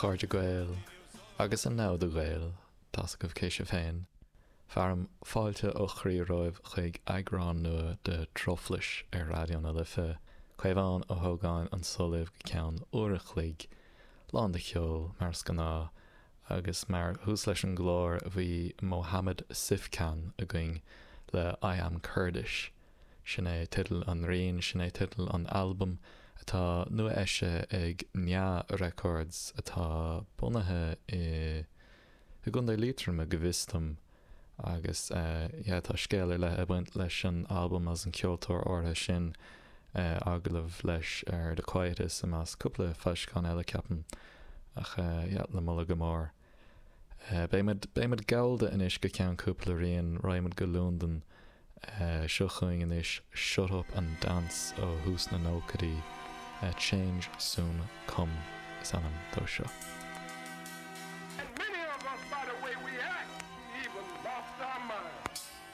chairde Gael agus a namhda Gael, tá's agaibh cé sibh féin. Fearaim fáilte ó chroí romhaibh chuig eagrán nua de Truflais ar Raidió na Life. Caomhán Ó hÓgáin anso libh go ceann uair a chloig, lán de cheol, mar is gnáth, agus mar thús leis an gclár bhí Mohammed Sifkan againn le I Am Kurdish. Sin é teideal an riain, sin é teideal an albaim atá nua-eisithe ag Nya Records atá bunaithe i gContae Liatroma go bhfios dom agus yeah tá scéal ar leith ag baint leis an albam agus an ceoltóir áirithe sin, agallamh leis ar The Quietus i measc cúpla foilseachán eile ceapaim ach yeah le moladh go mór. Beidh muid, beidh muid gallda anois go ceann cúpla rian, raghaidh muid go Londain. Seo chugainn anois Shut Up and Dance ó thús na nóchaidí, Change Soon Come is ainm dó seo.